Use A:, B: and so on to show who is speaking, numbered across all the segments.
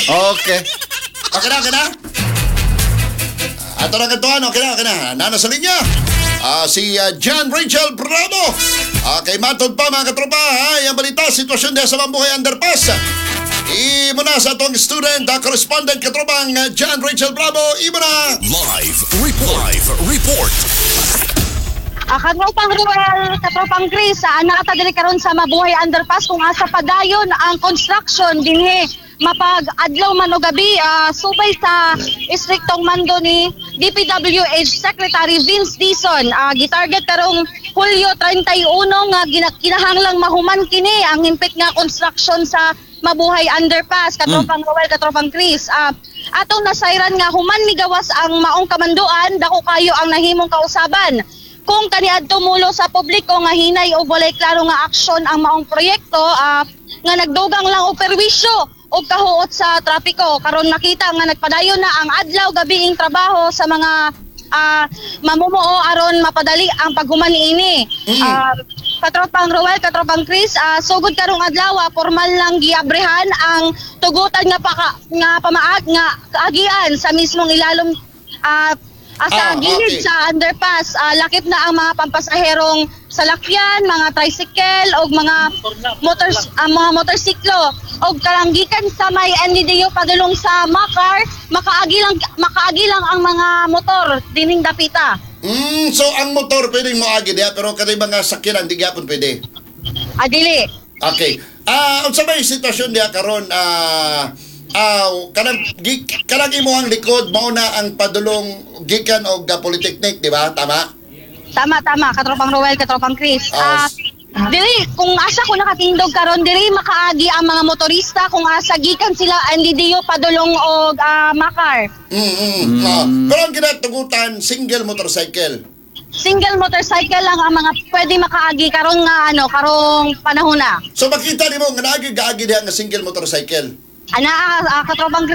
A: Okay.
B: Okay na, okay na? Ato na kantuan, okay na, okay na. Nana sa linya. Si John Rachel Bravo. Okay, matod pa mga katropa, ha? Yung balita, sitwasyon diha sa Mambuhay Underpass. Imo na sa atong student, correspondent katropang John Rachel Bravo. Imo na!
C: Live report. Live report.
D: Katropang Ruel, katropang Chris, naa ta diri karon sa Mabuhay Underpass kung asa padayon ang construction dinhi mapag adlaw man o gabi, subay sa istriktong mando ni DPWH Secretary Vince Dizon. Gitarget karong Hulyo 31 nga kinahanglang mahuman kini ang himpit nga construction sa Mabuhay Underpass, katropang Ruel, katropang Chris. Atong nasayran nga human migawas ang maong kamanduan, dako kayo ang nahimong kausaban kung kaniadto mulo sa publiko nga hinay o walay klaro nga aksyon ang maong proyekto, nga nagdugang lang og perwisyo og kahuot sa trapiko. Karon nakita nga nagpadayon na ang adlaw gabiing trabaho sa mga mamumuo aron mapadali ang paghuman niini. Katropang Roel, katropang Chris, sugod karong adlaw, formal lang giabrehan ang tugutan nga paka, nga pamaag nga kaagian sa mismong ilalom sa gilid sa underpass. Lakip na ang mga pampasaherong salakyan, mga tricycle og mga motor ang mga motorsiklo og karanggikan sa may NDDU padulong sa Makar, makaagi lang ang mga motor dining dapita.
B: So ang motor pwedeng moagi diha pero kanay mga sakyanan di gyapon pwede.
D: Adili.
B: Okay. Unsa may sitwasyon diha karon, kanang imong likod mao na ang padulong gikan og Polytechnic, di ba? Tama?
D: Tama, tama, katropang Roel, katropang Chris. Diri, kung asa ko nakatindog karon diri makaagi ang mga motorista kung asa gikan sila NDDU padulong og Makar.
B: Pero ang ginatugutan single motorcycle.
D: Single motorcycle lang ang mga pwede makaagi karon nga ano, karong panahon na.
B: So makita nimo nga naagi gaagi diha nga single motorcycle.
D: Ana, katropang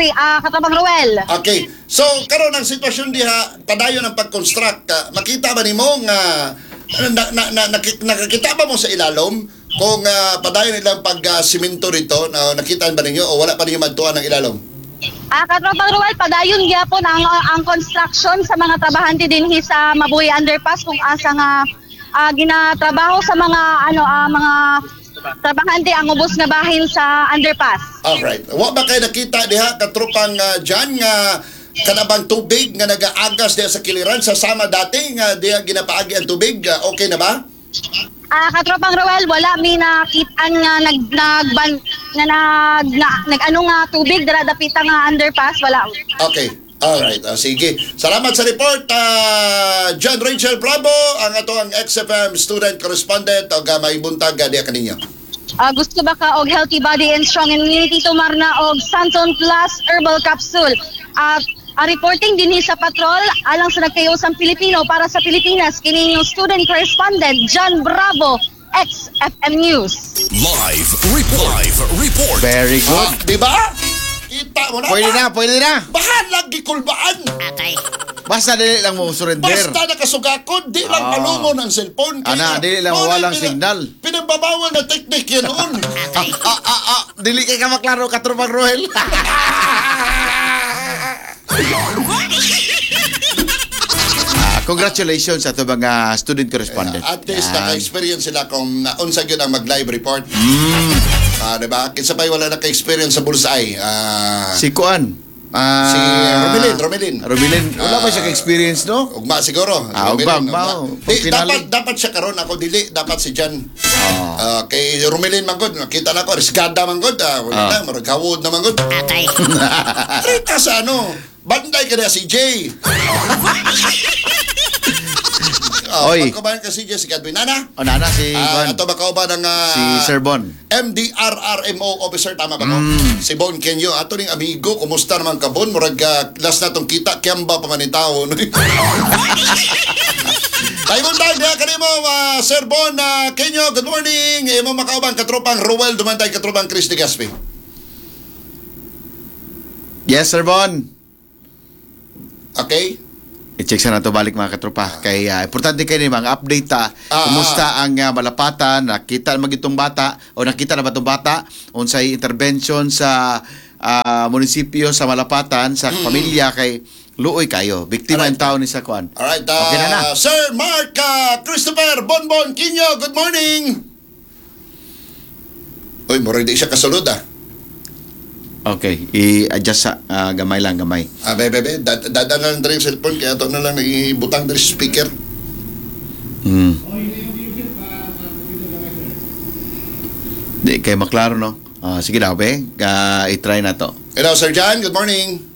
D: Roel.
B: Okay. So karon ang sitwasyon diha padayon ang pag-construct. Makita ba nimo nga na, na, na, nakakita ba mo sa ilalom kung padayon nilang pag-simento rito na nakita ba ninyo o wala pa ninyo madtuan ang ilalom?
D: Katropang Roel, padayon gyapon ang construction sa mga trabahante dinhi sa Mabuhay Underpass kung asa nga ginatrabaho sa mga ano mga trabahante ang ubos nga bahin sa underpass.
B: Alright. Wa ba kay nakita diha katropang Jan nga kanabang tubig nga nagaagas diha sa kiliran sa sama dati nga diha ginapaagi ang tubig? Okay na ba?
D: Katropang Roel, wala mi nakitaan nga nag nagban nga nag na, nag-ano nga tubig dara dapita nga underpass, wala.
B: Okay. Alright. Sige. Salamat sa report, John Rachel Bravo, ang ato ang XFM student correspondent og may buntag diha kaninyo.
D: Gusto ba ka og healthy body and strong immunity, tumarna og Santon Plus Herbal Capsule. At reporting dinhi sa patrol alang sa nagkayosang Pilipino para sa Pilipinas, kini inyong student correspondent John Bravo, XFM News.
C: Live report. Live report.
A: Very good.
B: Di ba? Kita mo na.
A: Pwede na, pwede na.
B: Bahalag gikulbaan.
A: Basta dili lang mo surrender.
B: Basta nakasugakod, di lang palungon ang cellphone.
A: Ana, dili lang
B: mao na
A: walang signal.
B: Pinagbabawal na technique yan noon.
A: Dili kay ka maklaro, katropang Roel. Congratulations sa ato mga student correspondent.
B: At least
A: Yan.
B: naka-experience sila kung unsa gyud ang mag-live report. Di ba? Kinsa pa'y wala naka-experience sa bullseye?
A: Si Kuan.
B: Si Romilin, Romilin.
A: Romilin. Wala ba siya ka-experience, no?
B: Ugma siguro.
A: Ugma,
B: Romilin,
A: ugma.
B: Di,
A: Pag
B: dapat
A: finale.
B: dapat siya karon ako dili, dapat si Jan. Kay Romilin man gud, nakita na ko risgada man gud, wala na murag hawod na man gud. Rita sa ano, banday ka na si Jay. Oh,
A: Oy.
B: pagkubahan ka si Jay, si Godwin Nana.
A: O, nana, si Kuan.
B: Ato ba kauban ang
A: Si Sir Bon.
B: MDRRMO officer, tama ba ko? Si Bon Kenyo. Ato ning amigo, kumusta naman ka Bon? Murag last na tong kita, kiyamba pa man ni tao. No? Tayo tayo diha kanimo, Sir Bon Kenyo, good morning. Imo makauban katropang Ruel Dumantay, katropang Chris de Gaspi.
A: Yes, Sir Bon.
B: Okay?
A: I-check sa nato balik mga katropa. Kay importante kay ni mga update ta. Kumusta ang malapatan, nakita na magitong bata o nakita na ba tong bata unsay intervention sa munisipyo sa Malapatan sa pamilya kay luoy kayo. Biktima ang tao ni sa kuan.
B: Alright,
A: Okay na na.
B: Sir Mark Christopher Bonbon Quino, good morning! Uy, mura di siya kasulod ah.
A: Okay, i-adjust sa gamay lang, gamay.
B: Ah, be, be, be, dada na lang diri yung cellphone, kaya ito na lang ibutang diri sa speaker.
A: Di kay maklaro, no? Ah, sige daw, be. I-try na to.
B: Hello, Sir John, good morning.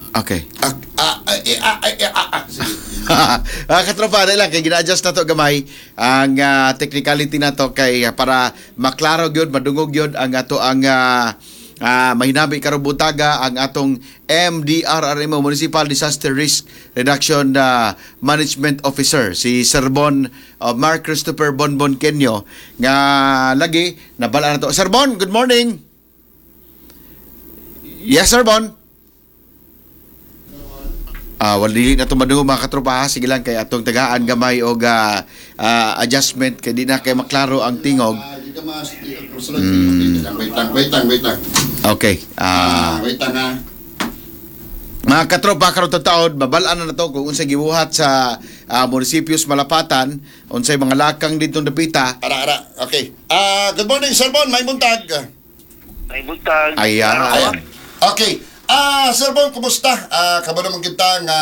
A: Okay.
B: Ah, ah, ah, eh, ah, ah, eh, ah, ah. Sige.
A: Katropa, dahil lang, kay gina-adjust na to gamay ang technicality na to kay para maklaro gyud, madungog gyud ang ato ang mahinabi karong butaga ang atong MDRRMO, Municipal Disaster Risk Reduction Management Officer, si Sir Bon, Mark Christopher Bonbon Kenyo, nga lagi nabala na to. Sir Bon, good morning. Yes, Sir Bon. Wala dili na to madungog, mga katropa, ha. Sige lang kay atong tagaan gamay og adjustment kay di na kay maklaro ang tingog.
B: Ah, di ka mas, di ka kasulod. Wait lang, wait lang, wait lang, wait lang.
A: Okay.
B: Ah, wait lang ah.
A: Mga katropa, karon taon, babal-an na to kung unsay gibuhat sa munisipyo sa Malapatan, unsay mga lakang didtong dapita.
B: Ara, ara, okay. Ah, good morning, Sir Bon, may buntag.
E: May buntag.
A: Ayan.
B: Ayan. Okay. Ah, Sir Bon, kumusta? Ah, kamo naman kita nga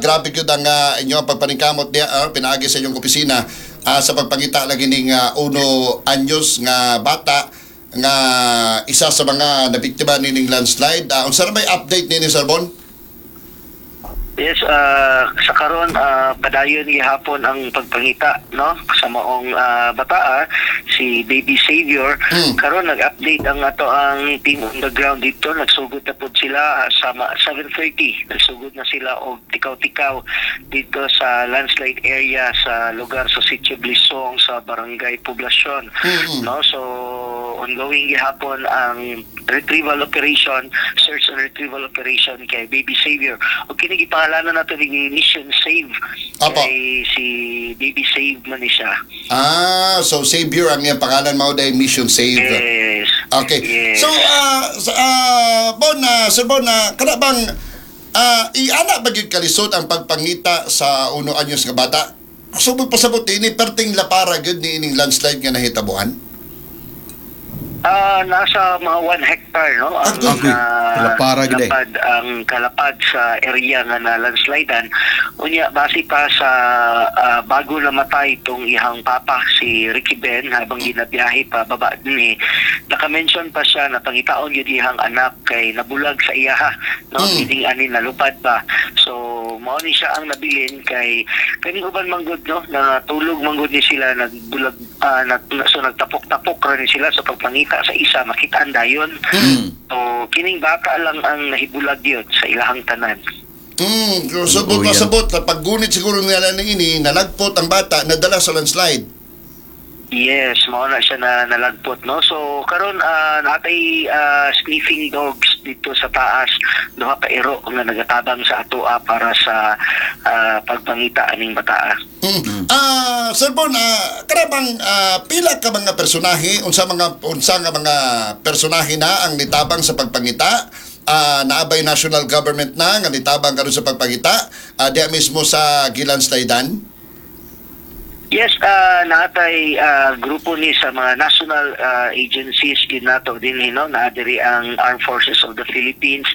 B: grabe gyud ang inyong pagpaningkamot diha pinaagi sa inyong opisina sa pagpangita lagi ning uno anyos nga bata nga isa sa mga nabiktima nining landslide. Unsa ra may update nini, Sir Bon?
E: Yes, sa karon padayon gihapon ang pagpangita, no, sa maong bataa, si Baby Savior. Karon nag-update ang ato ang team on the ground dito. Nagsugod na pod sila sa 7:30. Nagsugod na sila og tikaw-tikaw dito sa landslide area sa lugar sa Sitio Blisong sa Barangay Poblacion. No, so ongoing gihapon ang retrieval operation, search and retrieval operation kay Baby Savior. O kini gipangalanan nato ni Mission Save.
B: Apo.
E: Kay si Baby Save man ni siya.
B: Ah, so Savior ang iyang pangalan mao dahil Mission Save.
E: Yes.
B: Okay.
E: Yes.
B: So, Bon, Sir Bon, kana bang iana ba gyud kalisod ang pagpangita sa uno anyos nga bata? So, pasabot ini perting lapara gyud ni ining landslide nga nahitabuan.
E: Nasa mga 1 hectare, no, ang
A: Okay. Kalapara gid eh.
E: lapad, ang kalapad sa area nga na landslidean. Unya base pa sa bago namatay itong ihang papa si Ricky Ben habang ginabiyahe pa baba ni, naka-mention pa siya na pangitaon yun ihang anak kay nabulag sa iyaha, no, mm. Ani nalupad pa. So mao ni siya ang nabilin kay kaning uban manggod, no, natulog manggod ni sila, nagbulag, so nagtapok-tapok ra ni sila sa pagpangita sa isa makitaan dayon. So kining bata lang ang nahibulag yun sa ilahang tanan.
B: So,
A: Oo, yan.
B: pasabot, paggunit siguro nila ni ini, nalagpot ang bata, nadala sa landslide.
E: Yes, mao na siya na nalagpot, no. So karon natay sniffing dogs dito sa taas, duha ka iro nga nagatabang sa atoa para sa pagpangita aning bataa.
B: Ah, Sir Bon, kana bang pila ka mga personahe, unsa nga mga personahe na ang nitabang sa pagpangita? Naabay national government na nga nitabang karon sa pagpangita diya mismo sa gilandslidean?
E: Yes, naatay grupo ni sa mga national agencies gid nato din, no, naa diri ang Armed Forces of the Philippines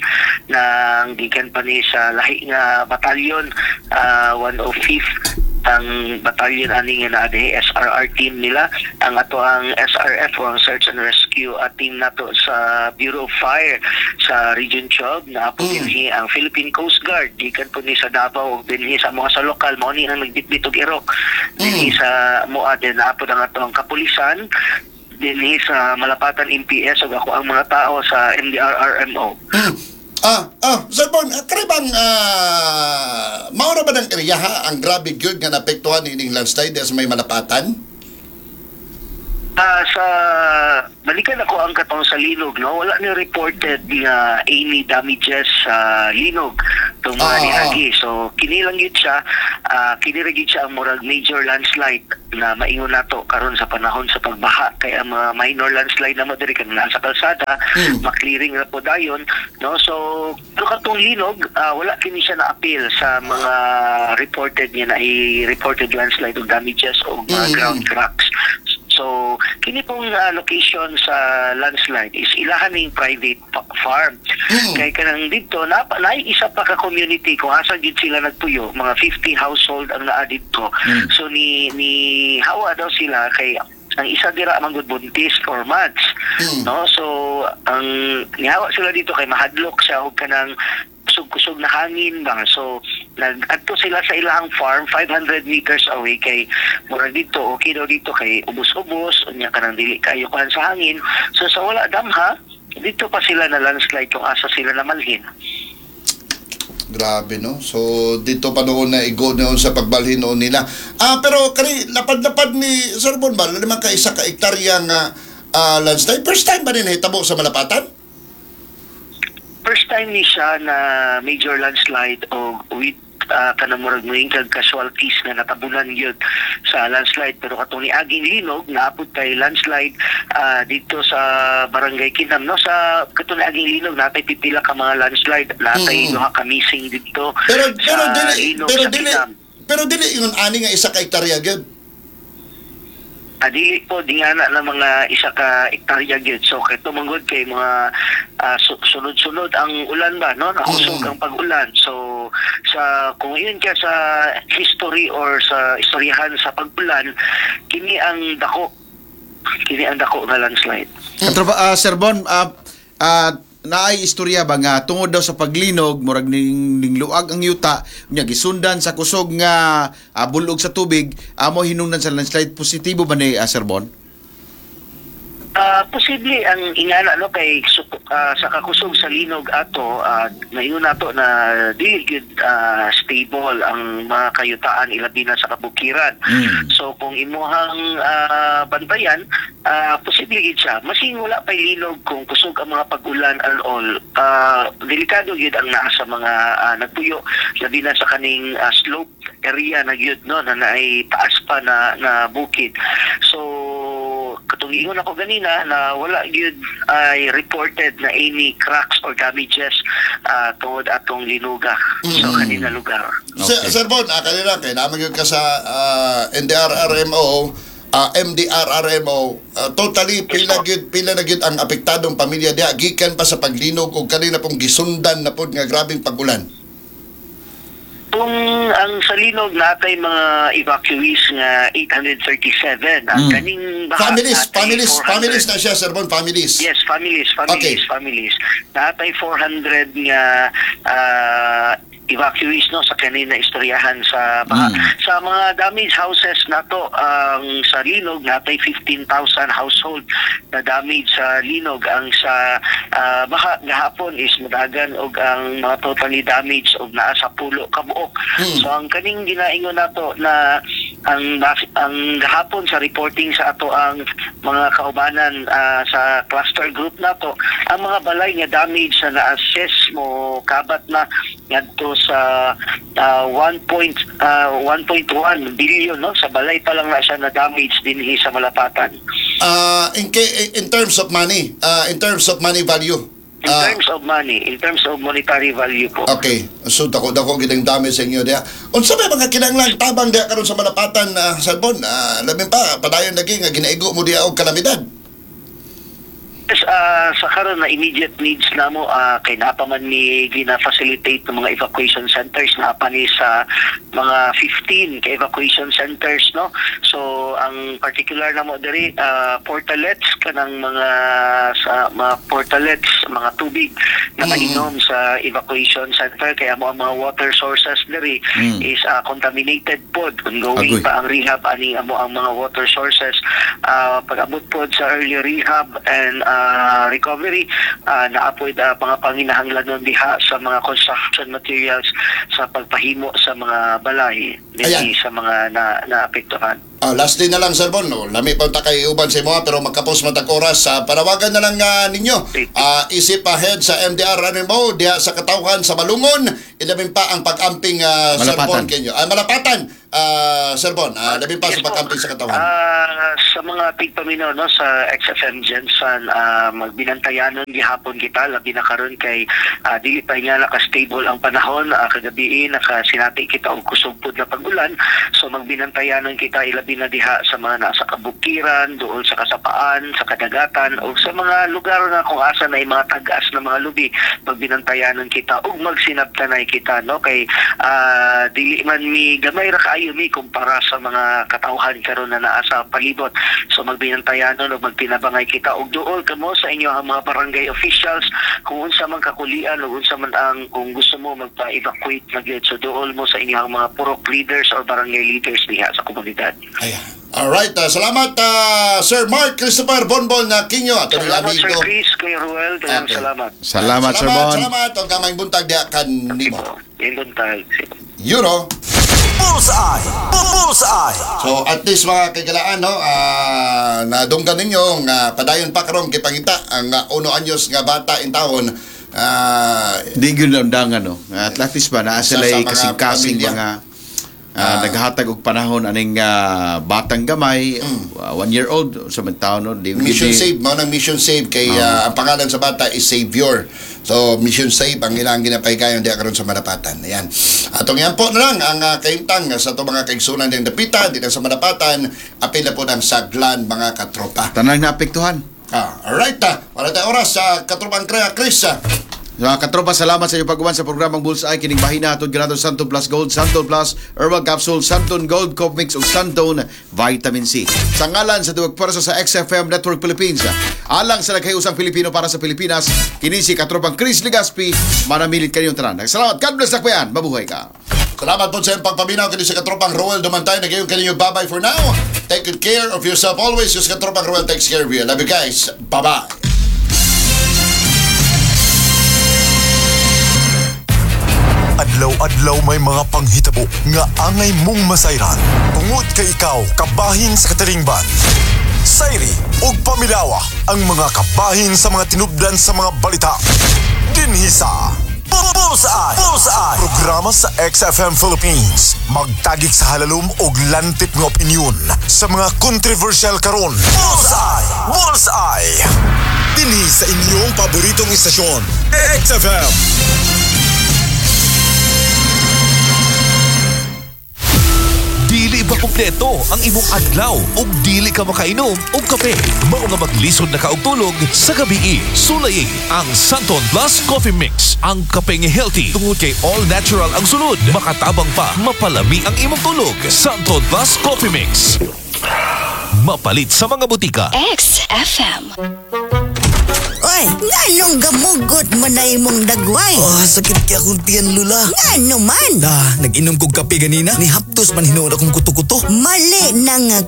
E: nang gikan pa ni sa lahi nga batalyon, 105th ang batalyon ani nga naa diri, SRR team nila, ang ato ang SRF o ang Search and Rescue team nato sa Bureau of Fire sa Region 12 na po dinhi ang Philippine Coast Guard gikan po ni sa Davao ug dinhi sa mga sa lokal mao ni ang nagbitbit og irok dinhi sa moa din naa po ang ato ang kapulisan dinhi sa Malapatan MPS ug ako ang mga tao sa MDRRMO.
B: Sir Bon, kani bang maura ba ng area ha ang grabe gyud nga naapektuhan ining landslide diya sa may Malapatan?
E: Sa balikan ako ang katong sa linog, no, wala ni reported nga any damages sa linog. Katong mga niagi. So kini lang gyud siya, kini ra gyud siya ang murag major landslide na maingon nato karon sa panahon sa pagbaha, kay ang mga minor landslide na mo diri kanang naa sa kalsada, ma-clearing ra po dayon, no? So pero katong linog, wala kini siya na appeal sa mga reported niya na i-reported landslide o damages o mga ground cracks. So kini pong location sa landslide is ilahan ning private farm. Kay kanang didto na naay isa pa ka community kung asa gid sila nagpuyo, mga 50 household ang naa didto. So ni hawa daw sila kay ang isa dira man gud buntis 4 months. No? So ang nihawa sila dito kay mahadlok siya og kanang kusog-kusog na hangin ba. So nag-adto sila sa ilahang farm 500 meters away kay murag dito okay daw dito kay ubos-ubos, unya kanang dili kayo kuan sa hangin. So sa wala damha, dito pa sila na landslide kung asa sila namalhin.
B: Grabe, no? So dito pa noon na igo noon sa pagbalhin noon nila. Pero kani lapad-lapad ni Sir Bon ba, 5 ka hektarya nga landslide. First time ba ni nahitabo sa Malapatan?
E: First time ni siya na major landslide o with kanang murag moingkag casualties nga natabunan gyud sa landslide, pero katong niaging linog naapod kay landslide dito sa Barangay Kinam, no? Sa katong niaging linog, natay pipila ka mga landslide, natay duha ka missing dito
B: Pero
E: sa
B: pero dili
E: linog
B: pero
E: sa
B: dili
E: Kinam.
B: Pero dili ingon ani nga 1 ka hektarya gyud.
E: Dili po, di nga na mga 1 ka ektarya gyud. So kay tumungod kay mga sunod-sunod ang ulan ba, no? Nakusog ang pag-ulan. So sa kung yun ka sa history or sa istoryahan sa pag-ulan, kini ang dako. Kini ang dako nga landslide.
A: Katropa, Sir Bon, naay istorya ba nga tungod daw sa paglinog, murag ning luag ang yuta, unya gisundan sa kusog nga bulog sa tubig, amo hinungdan sa landslide? Positibo ba ni Sir Bon?
E: Posible ang ingana, no, kay sa kakusog sa linog ato, naingon nato na dili gyud stable ang mga kayutaan, ilabi na sa kabukiran. So kung imuhang bantayan, posible gyud siya. Masing wala pay linog, kung kusog ang mga pag-ulan and all, delikado gyud ang naa sa mga nagpuyo, labi na sa kaning slope area na gyud, no, na naay taas pa na na bukid. So katong ingon ako ganina na wala gyud ay reported na any cracks or damages tungod atong linuga sa kanina lugar.
B: Sir Bon, kanina kay naman gyud ka sa NDRRMO, MDRRMO, totally pila
E: po.
B: Gyud pila na gyud ang apektadong pamilya diha gikan pa sa paglinog ug kanina pong gisundan na pod nga grabeng pag-ulan?
E: Kung ang sa linog, natay mga evacuees nga 837. Ang kaning baha,
B: Families,
E: natay
B: families,
E: 400.
B: Families na siya, Sir Bon, families.
E: Yes, families, families, families. Natay 400 nga evacuees, no, sa kanina istoryahan sa baha. Sa mga damaged houses nato, ang sa linog natay 15,000 household na damage sa linog. Ang sa baha gahapon is mudagan og ang mga totally damaged og naa sa 10 ka buok. So ang kaning ginaingon nato na ang gahapon sa reporting sa ato ang mga kaubanan sa cluster group nato, ang mga balay nga damage sa na-assess mo kabat na ngadto sa 1.1 billion, no? Sa balay pa lang na siya na damage dinhi sa Malapatan.
B: In terms of money, in terms of money value.
E: In terms of money, in terms of monetary value po.
B: Okay. So dako dako gid ang damage sa inyo diha. Unsa may mga kinahanglan tabang diha karon sa Malapatan, Sir Bon? Labi pa padayon lagi nga ginaigo mo diha og kalamidad.
E: Yes, sa karon na immediate needs namo, kay naa pa man ni gina-facilitate ng mga evacuation centers, naa pa ni sa mga 15 ka evacuation centers, no? So ang particular namo diri, portalets, kanang mga sa mga portalets, mga tubig na mainom sa evacuation center kaya mo ang mga water sources diri is contaminated pod. Ongoing
A: Agoy.
E: pa ang rehab ani amo ang mga water sources. Pag-abot pod sa early rehab and recovery, naapoy mga panginahanglanon diha sa mga construction materials sa pagpahimo sa mga balay
B: Ayan.
E: dinhi sa mga na naapektuhan.
B: Last day na lang, Sir Bon, no? Lami pa ta kay uban sa imo pero magkapos matag oras. Sa panawagan na lang ninyo. Isip head sa MDR RMO diha sa katawhan sa Malungon, ilabin pa ang pag-amping, Sir
A: Malapatan.
B: Bon Kenyo. Malapatan, Sir Bon, labin pa
E: Yes
B: sa
E: po.
B: pag-amping sa katawhan.
E: Sa mga tigpaminaw, no, sa XFM Jensen, magbinantayanon gihapon kita labi na karon kay dili pa nga naka-stable ang panahon. Kagabi nakasinati kita og kusog pud na pag-ulan, so magbinantayanon kita ilabi na diha sa mga nasa kabukiran, dool sa kasapaan, sa kadagatan o sa mga lugar nga kung asa na mga tag-as na mga lubi. Magbinantayanon kita ug magsinabtanay kita, no, kay dili man mi gamay ra kaayo mi kumpara sa mga katawhan karon na naa sa palibot. So magbinantayanon o magtinabangay kita og duol kamo sa inyo ang mga barangay officials kung unsa man kakulian o unsa man ang kung gusto mo magpa-evacuate na gyud. So duol mo sa inyo ang mga purok leaders or barangay leaders diha sa komunidad.
B: Ayan. Alright, salamat, Sir Mark Christopher Bonbon na Kinyo at aming
E: Salamat, Sir
B: amigo.
E: Chris, Kuya Ruel, daghang
B: Okay.
E: salamat.
A: Salamat, Sir Bon.
B: Salamat, ang kamay buntag diha kanimo.
E: Yung buntag.
B: Euro.
C: Bullseye! Bullseye!
B: So at least mga kagalaan, no, nadunggan ninyo nga padayon pa karon gipangita ang uno anyos nga bata in taon.
A: Di gyud na undangan, no. At least ba naa
B: Isa
A: sila
B: sa mga
A: kasing-kasing
B: pamilya.
A: mga naghatag og panahon aning batang gamay, 1 year old sa man taon, no. Di,
B: Mission
A: di-
B: Save, mao nang Mission Save kay ang pangalan sa bata is Savior. So Mission Save ang ilang ginapahigayon diha karon sa Malapatan. Ayan. Atong yan po na lang ang kahimtang sa atong mga kaigsunan diyang dapita dito sa Malapatan, apil na po ng saglan mga katropa.
A: Tanang naapektuhan.
B: Alright, wala tayong oras sa katropang Chris.
A: Mga katropa, salamat sa inyong pag-uwan sa programang Bullseye. Kining bahina hatod kanato Santon Plus Gold, Santon Plus Herbal Capsule, Santon Gold Coffee Mix ug Santon Vitamin C. Sa ngalan sa duwag pwersa sa XFM Network Philippines, alang sa nagkayusang Pilipino para sa Pilipinas, kini si katropang Chris Legaspi, manamilit kaninyong tanan. Salamat. God bless Dakbayan. Mabuhay ka.
B: Salamat po sa iyong pagpaminaw kini sa katropang Roel Dumantay. Nagayon kaninyo, bye-bye for now. Take good care of yourself always. Yung sa katropang Roel takes care of you. Love you guys. Bye-bye.
C: Adlaw-adlaw may mga panghitabo nga angay mong masayran. Tungod kay ikaw kabahin sa katilingban. Sayri ug pamilawa ang mga kabahin sa mga tinubdan sa mga balita. Dinhi sa Bullseye! Bullseye! Programa sa XFM Philippines. Magtagik sa halalom og lantip nga opinyon sa mga controversial karon. Bullseye! Bullseye! Dinhi sa inyong paboritong istasyon, XFM.
F: Dili ba kumpleto ang imong adlaw ug dili ka makainom og kape? Mao nga maglisod na ka og tulog sa gabi. Sulayi ang Santon Plus Coffee Mix. Ang kape nga healthy tungod kay all natural ang sulod. Makatabang pa, mapalami ang imong tulog. Santon Plus Coffee Mix. Mapalit sa mga butika.
G: XFM.
H: Oy, nganong gamugot mo na imong dagway?
I: Ah, sakit kay akong tiyan, Lula.
H: Ngano man?
I: Ah, nag-inom kog kape ganina. Ni haptos man hinuon akong kuto-kuto.
H: Mali na nga.